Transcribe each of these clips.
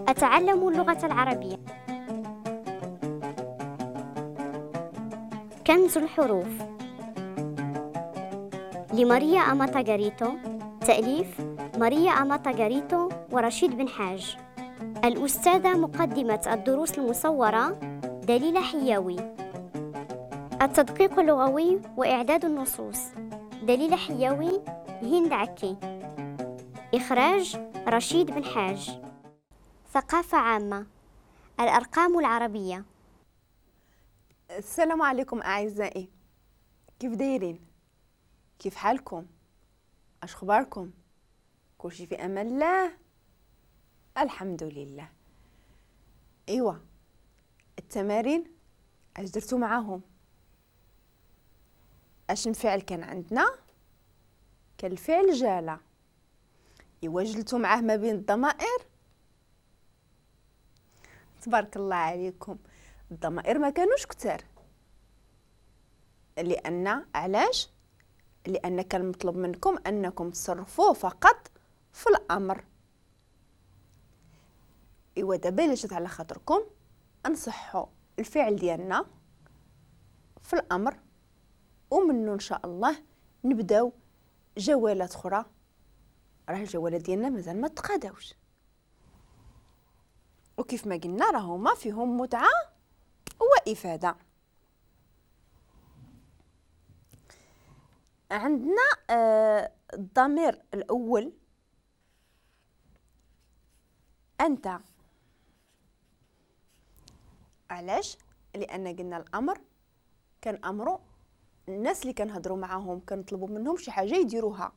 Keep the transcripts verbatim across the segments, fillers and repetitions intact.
أتعلم اللغة العربية. كنز الحروف لماريا أماتا غاريتو، تأليف ماريا أماتا غاريتو ورشيد بن حاج. الأستاذة مقدمة الدروس المصورة دليلة حياوي. التدقيق اللغوي وإعداد النصوص دليلة حياوي، هند عكي. إخراج رشيد بن حاج. ثقافة عامة، الأرقام العربية. السلام عليكم أعزائي، كيف دايرين؟ كيف حالكم؟ اش اخباركم؟ كلشي في امان الله، الحمد لله. ايوا التمارين اش درتو معاهم؟ اش الفعل كان عندنا؟ كان الفعل جالة. ايوا جلتو معاه ما بين الضمائر. تبارك الله عليكم، الضمائر ما كانوش كتار، لان علاش؟ لان كان مطلوب منكم انكم تصرفوه فقط في الامر. ايوا دابا الا جات على خاطركم انصحوا الفعل ديالنا في الامر، ومنه ان شاء الله نبداو جولات اخرى. راه الجولات ديالنا مازال ما تقاداوش، وكيف ما قلنا راهما فيهم متعه وافاده. عندنا آه الضمير الاول انت. علاش؟ لان قلنا الامر كان امره الناس اللي كنهضروا معاهم، كنطلبوا منهم شي حاجة يديروها.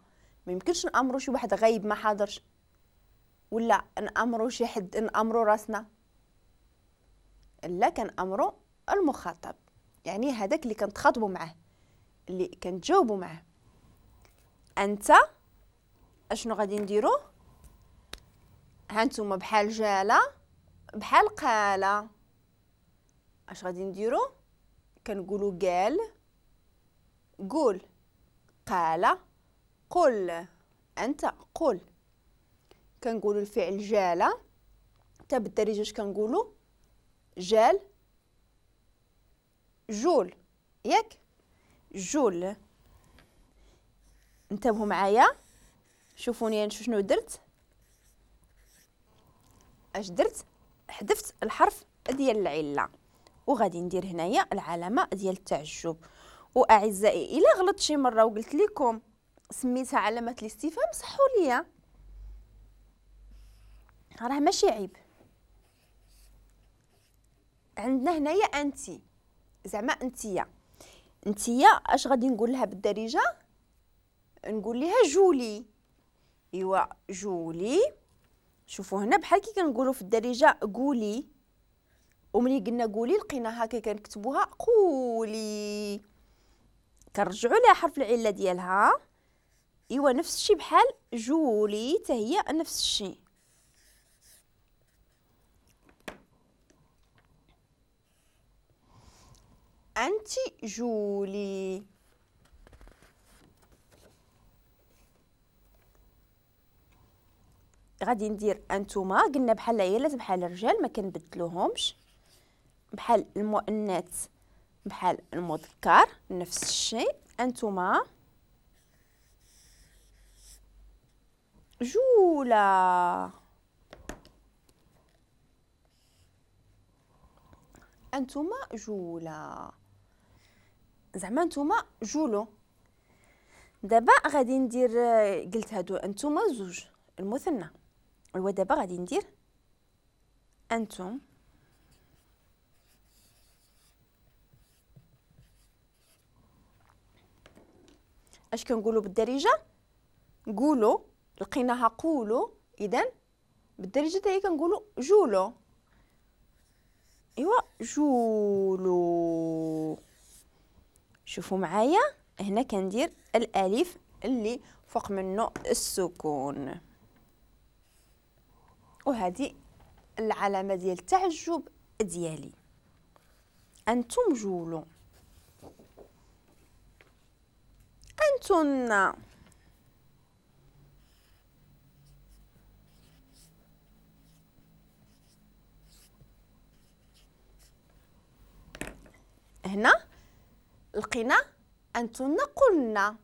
ما يمكنش نامروا شي واحد غايب ما حاضرش، ولا نامروا شي حد نامروا راسنا. لا، كنامروا المخاطب، يعني هذاك اللي كنتخاطبوا معاه، اللي كنتجاوبوا معاه. انت اشنو غادي نديرو؟ ها نتوما بحال جاله بحال قاله، اش غادي نديرو؟ كنقولوا قال، قول، قال، قل. انت قل. كنقولوا الفعل جاله حتى بالدارجة اش كنقولوا؟ جال، جول، ياك؟ جول. انتبهوا معايا، شوفوني انا شنو درت. اش درت؟ حذفت الحرف ديال العلة، وغادي ندير هنايا العلامة ديال التعجب. واعزائي الا غلطت شي مرة وقلت لكم سميتها علامة الاستفهام، صحوا ليا، راه ماشي عيب. عندنا هنايا انتي، زعما انتيا. انتيا اش غادي نقول لها بالدارجة؟ نقول لها جولي. ايوا جولي. شوفوا هنا بحال كي كنقولوا في الدارجة قولي، وملي قلنا قولي لقيناها كي كنكتبوها قولي، كنرجعوا لها حرف العلة ديالها. ايوا نفس الشيء بحال جولي حتى هي نفس الشيء. انت جولي. غادي ندير انتوما، قلنا بحال العيالات بحال الرجال ما كنبدلوهمش، بحال المؤنث بحال المذكر نفس الشيء. انتوما جولا، انتوما جولا، زعما انتوما جولو. دابا غادي ندير، قلت هادو انتوما زوج المثنى، ايوا دابا غادي ندير انتم اش كنقولوا بالدارجة؟ قولوا، لقيناها قولوا، اذا بالدارجة حتى هي كنقولوا جولو. ايوا جولو. شوفوا معايا هنا كندير الالف اللي فوق منه السكون، وهذه العلامة ديال التعجب ديالي. انتم جولو، انتن. هنا لقينا انتن قلنا،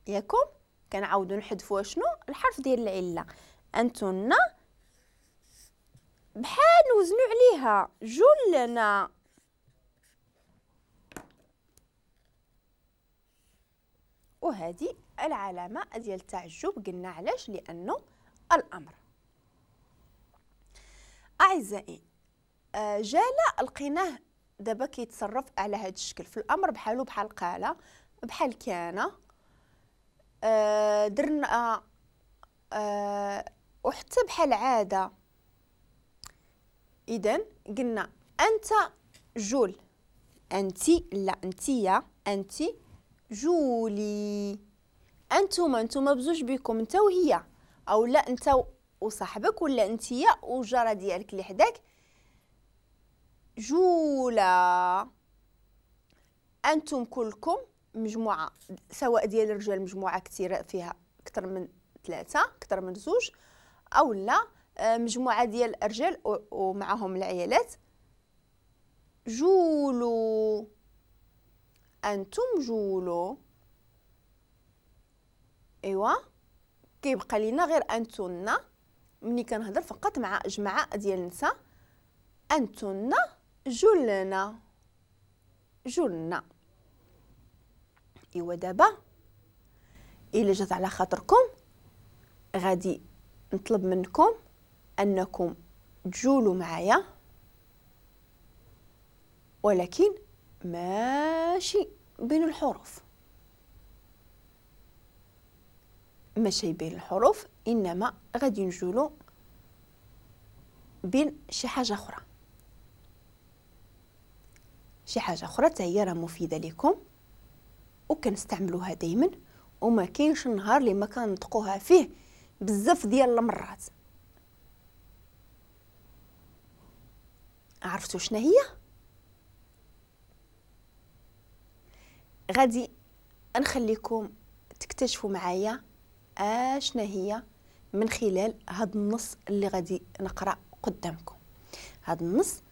ياكم كنعاودو نحذفوا شنو؟ الحرف ديال العلة. انتن بحال نوزنو عليها جلنا. وهذه العلامة ديال التعجب قلنا علاش؟ لانه الامر. اعزائي جال لقيناه دابا كيتصرف على هذا الشكل في الامر، بحالو بحال قال بحال كان، درنا وحتى بحال عادة. اذا قلنا انت جول، انت لا انتيا، انت جولي، انتما انتما بزوج بكم، انت وهي، او لا انت وصاحبك، ولا انتيا والجاره ديالك اللي حداك. جولا انتم كلكم مجموعة، سواء ديال الرجال مجموعة كثيرة فيها اكثر من ثلاثة اكثر من زوج، او لا مجموعة ديال الرجال ومعهم العيالات. جولو انتم جولو. ايوا كيبقى لينا غير انتن ملي كنهضر فقط مع جماعة ديال النساء. انتن جلنا جلنا. ايوا دابا الا جات على خاطركم غادي نطلب منكم انكم تجولوا معايا، ولكن ماشي بين الحروف، ماشي بين الحروف، انما غادي نجولوا بين شي حاجة اخرى، شي حاجة اخرى حتى هي راه مفيدة لكم وكنستعملوها دائما، وما كاينش النهار اللي ما كنطقوها فيه بزاف ديال المرات. عرفتوا شنو هي؟ غادي نخليكم تكتشفوا معايا اشنا هي من خلال هذا النص اللي غادي نقرا قدامكم. هذا النص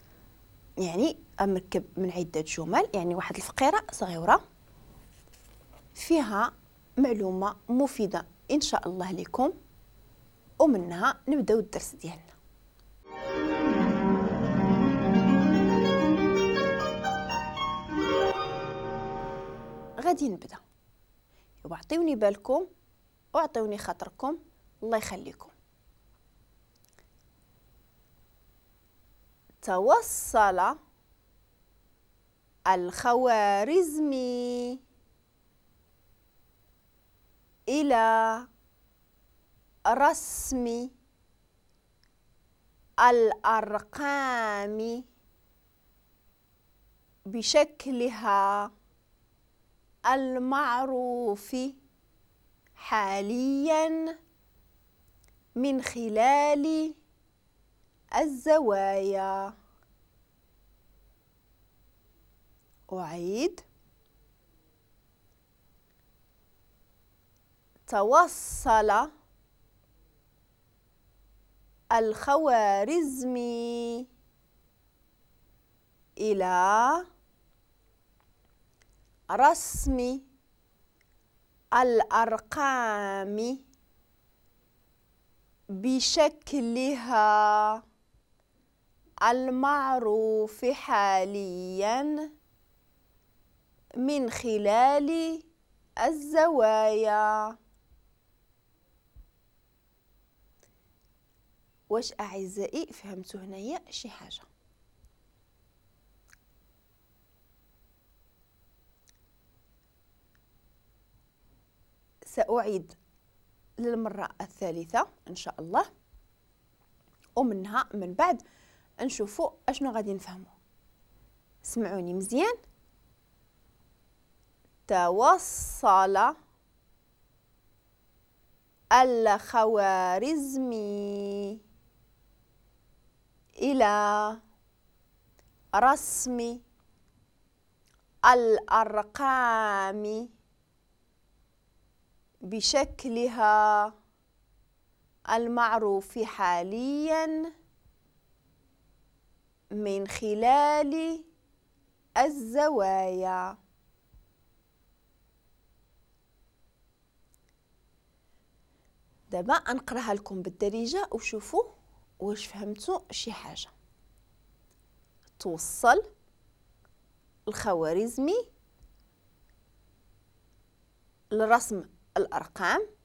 يعني مركب من عده جمل، يعني واحد الفقيرة صغيرة فيها معلومة مفيدة ان شاء الله لكم، ومنها نبداو الدرس ديالنا. غادي نبدا، وعطيوني بالكم واعطيوني خاطركم الله يخليكم. توصل الخوارزمي إلى رسم الأرقام بشكلها المعروف حالياً من خلال الزوايا. أعيد. توصل الخوارزمي إلى رسم الأرقام بشكلها المعروف حالياً من خلال الزوايا. واش أعزائي فهمتوا هنايا شي حاجة؟ سأعيد للمرة الثالثة إن شاء الله، ومنها من بعد نشوفوا أشنو غادي نفهمو. سمعوني مزيان. توصل الخوارزمي إلى رسم الأرقام بشكلها المعروف حالياً من خلال الزوايا. دابا نقراها لكم بالدارجة وشوفوا واش فهمتوا شي حاجة. توصل الخوارزمي لرسم الأرقام